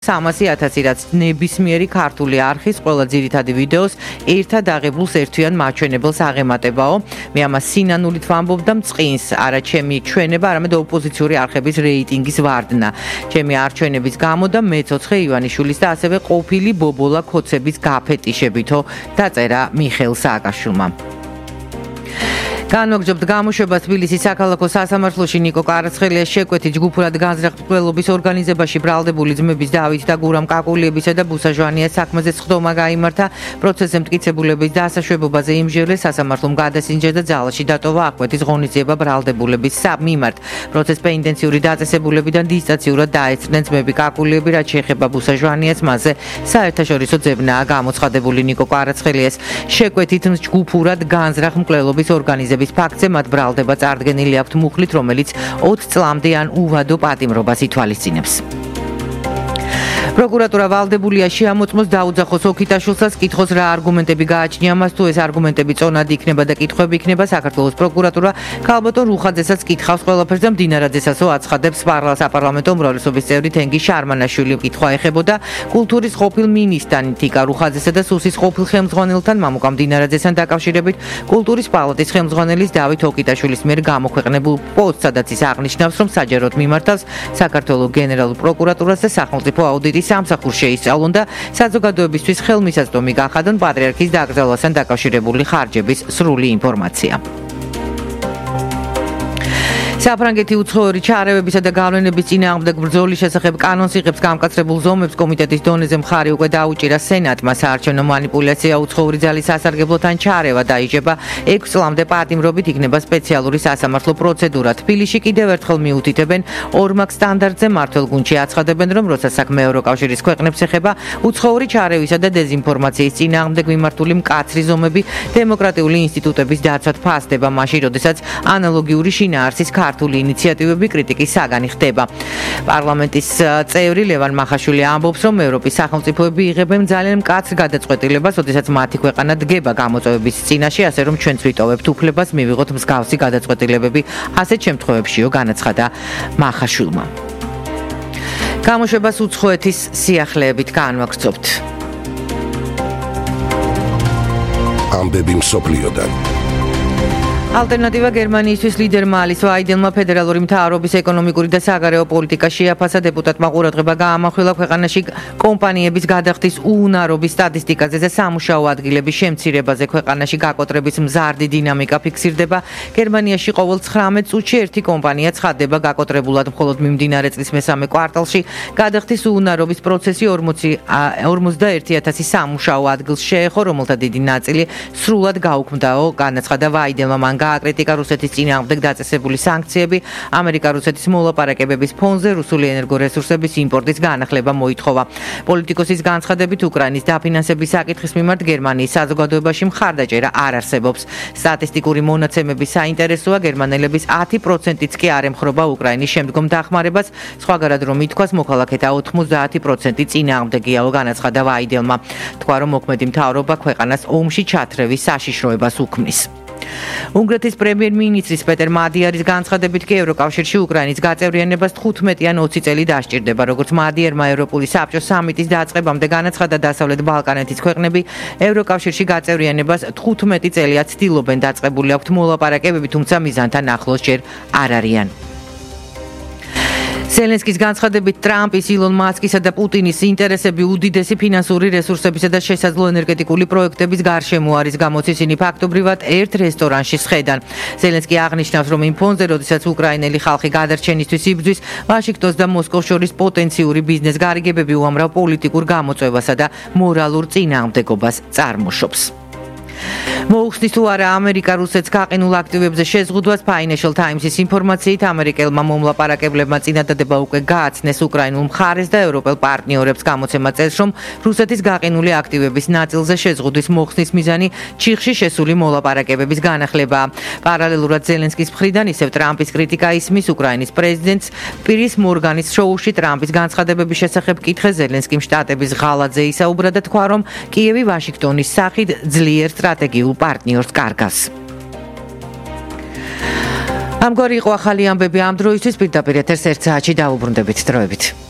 300,000 რაც ნებისმიერი ქართული არხის ყველა ძირითადი ვიდეოს ერთად აღებულს ერთვიან მაჩვენებელს აღემატებაო. მე ამას სინანულით ვამბობ და მწყინს, არა ჩემი ჩვენება, არამედ ოპოზიციური არხების რეიტინგის ვარდნა. ჩემი არჩევნების გამო და მეცოცხლე ივანიშვილის და ასევე ყოფილი ბობოლა ქოცების გაფეტიშებითო დაწერა მიხეილ სააკაშვილმა. განვაგრძობთ გამოშვებას თბილისის საქალაქო სასამართლოში ნიკო კვარაცხელიას შეკვეთით ჯგუფურად განზრახ-მკვლელობის ორგანიზებაში ბრალდებული ძმების დავით და გურამ კაკულიებისა და ბუსა ჟვანიას საქმეზე სხდომა გაიმართა. პროცესზე მტკიცებულების დასაშვებობაზე იმჟევლეს სასამართლომ გადასინჯა და ძალაში დატოვა აღკვეთის ღონისძიება ბრალდებულების მიმართ. პროცესს პენდენციური დაწესებულებიდან დისტანციურად დაესწრნენ ძმები კაკულიები, რაც შეეხება ბუსა ჟვანიას, მასზე საერთაშორისო ძებნაა გამოცხადებული. ნიკო კვარაცხელიას შეკვეთით ჯგუფურად განზრახ-მკვლელობის ორგანიზებაში ფაქტზე მათ ბრალდება წარდგენილი აქვთ მუხლით, რომელიც 20 წლამდე ან უვადო პატიმრობას ითვალისწინებს. პროკურატურა ვალდებულია შეამოწმოს დაუძახოს ოქიტაშვილსაც, კითხოს რა არგუმენტები გააჩნია მას, თუ ეს არგუმენტები წონადი იქნება და კითხვები იქნება. საქართველოს პროკურატურა ქალბატონ რუხაძესაც კითხავს ყველაფერს და მდინარაძესაცო აცხადებს. საპარლამენტო უმრავლესობის წევრი თენგი შარმანაშვილი კითხვა ეხებოდა კულტურის ყოფილ მინისტრთან თიკა რუხაძესა და სუსის ყოფილ ხელმძღვანელთან მამუკა მდინარაძესთან დაკავშირებით კულტურის პალატის ხელმძღვანელის დავით ოქიტაშვილის მიერ გამოქვეყნებულ პოსტს, სადაც ის აღნიშნავს, რომ საჯაროდ მიმართავს საქართველოს გენერალურ პროკურატურას და სახელმწიფო აუდიტის სამსახურს შეისწავლონ და საზოგადოებისთვის ხელმისაწვდომი გახადონ პატრიარქის დაკრძალვასთან დაკავშირებული ხარჯების სრული ინფორმაცია. საფრანგეთი უცხოური ჩარევებისა და გავლენების წინააღმდეგ ბრძოლის შესახებ კანონს იღებს გამკაცრებულ ზომებს. კომიტეტის დონეზე მხარი უკვე დაუჭირა სენატმა. საარჩევნო მანიპულაცია, უცხოური ძალის სასარგებლოთან ჩარევა დაიჯება 6 წლამდე პატიმრობით, იქნება სპეციალური სასამართლო პროცედურა. თბილისში კიდევ ერთხელ მიუთითებენ ორმაგ სტანდარტზე. მმართველ გუნდში აცხადებენ, რომ როცა საქმე ევროკავშირის ქვეყნებს ეხება, უცხოური ჩარევისა და დეზინფორმაციის წინააღმდეგ მიმართული მკაცრი ზომები დემოკრატიული ინსტიტუტების დაცვად ფასდება, მაშინ როდესაც ანალოგიური შინაარსის ქართული ინიციატივები კრიტიკის საგანი ხდება. პარლამენტის წევრი ლევან მახაშვილი ამბობს, რომ ევროპის სახელმწიფოები იღებენ ძალიან მკაცრ გადაწყვეტილებას, როდესაც მათი ქვეყანა დგება გამოწვევების წინაშე, ასე რომ ჩვენც ვიტოვებთ უფლებას მივიღოთ მსგავსი გადაწყვეტილებები ასეთ შემთხვევებშიო, განაცხადა მახაშვილმა. გამოშვებას უცხოეთის სიახლეებით განვაგრძობთ. ამბები მსოფლიოდან. ალტერნატივა გერმანიისთვის ლიდერმა ალის ვაიდელმა ფედერალური მთავრობის ეკონომიკური და საგარეო პოლიტიკა შეაფასა. დეპუტატმა ყურადღება გაამახვილა ქვეყანაში კომპანიების გადახდის უუნარობის სტატისტიკაზე და სამუშაო ადგილების შემცირებაზე. ქვეყანაში გაკოტრების მზარდი დინამიკა ფიქსირდება. გერმანიაში ყოველ 19 წუთში ერთი კომპანია ცხადდება გაკოტრებულად. მხოლოდ მიმდინარე წლის მესამე კვარტალში გადახდის უუნარობის პროცესი 41,000 სამუშაო ადგილს შეეხო, რომელთა დიდი ნაწილი სრულად გაუქმდაო, განაცხადა ვაიდელმა. მან გააკრიტიკა რუსეთის წინააღმდეგ დაწესებული სანქციები. ამერიკა-რუსეთის მოლაპარაკებების ფონზე რუსული ენერგორესურსების იმპორტის განახლება მოითხოვა. პოლიტიკოსის განცხადებით, უკრაინის დაფინანსების საკითხის მიმართ გერმანიის საზოგადოებაში მხარდაჭერა არ არსებობს. სტატისტიკური მონაცემების საინტერესოა, გერმანელების 10%-იც კი არ ემხრობა უკრაინის შემდგომ დახმარებას. სხვაგანად რომ ითქვას, მოქალაქეთა 90% წინააღმდეგიაო, განაცხადა ვაიდელმა. თქვა, რომ მოქმედი მთავრობა ქვეყანას ომში ჩათრევის საშიშროებას უქმნის. უნგრეთის პრემიერ-მინისტრის პეტერ მადიარის განცხადებით კი ევროკავშირში უკრაინის გაწევრიანებას 15 ან 20 წელი დასჭირდება. როგორც მადიერმა ევროპული საბჭოს სამიტის დაწყებამდე განაცხადა, დასავლეთ ბალკანეთის ქვეყნები ევროკავშირში გაწევრიანებას 15 წელია ცდილობენ. დაწყებული აქვთ მოლაპარაკებები, თუმცა მიზანთან ახლოს ჯერ არ არიან. ზელენსკის განცხადებით, ტრამპის, ილონ მასკისა და პუტინის ინტერესები უდიდესი ფინანსური რესურსებისა და შესაძლო ენერგეტიკული პროექტების გარშემო არის, გამოც ისინი ფაქტობრივად ერთ რესტორანში სხედან. ზელენსკი აღნიშნავს, რომ იმ ფონზე, როდესაც უკრაინელი ხალხი გადარჩენისთვის იბრძვის, ვაშინგტონს და მოსკოვს შორის პოტენციური ბიზნეს გარიგებები უამრავ პოლიტიკურ გამოწვევასა და მორალურ წინააღმდეგობას წარმოშობს. მოუხსნის თუ არა ამერიკა რუსეთს გაყინულ აქტივებზე შეზღუდვას. Financial Times-ის ინფორმაციით, ამერიკელმა მომლაპარაკებლებმა წინადადება უკვე გააცნეს უკრაინულ მხარეს და ევროპელ პარტნიორებს. გამოცემა წერს, რომ რუსეთის გაყინული აქტივების ნაწილზე შეზღუდვის მოხსნის მიზანი ჩიხში შესული მოლაპარაკებების განახლებაა. პარალელურად ზელენსკის მხრიდან ისევ ტრამპის კრიტიკა ისმის. უკრაინის პრეზიდენტს პირის მორგანის შოუში ტრამპის განცხადებების შესახებ კითხეს. ზელენსკიმ შტატების ღალატზე ისაუბრა და თქვა, რომ კიევი ვაშინგტონის სახით ძლიერ სტრატეგიულ პარტნიორს კარგავს. ამგვარი იყო ახალი ამბები ამ დროისთვის. პირდაპირ ეთერს 1 საათში დავუბრუნდებით. დროებით.